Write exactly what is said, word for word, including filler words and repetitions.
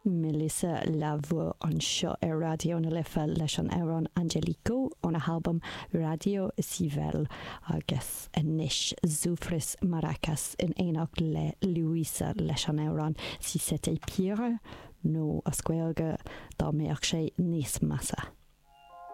Melissa La Voix anseo ar Raidió na Life leis an amhrán Angelico óna halbam Radio Civil agus anois Zufris Maracas in éineacht le Luisa leis an amhrán Si c'était pire nó as Gaeilge dá mbeadh sé níos measa.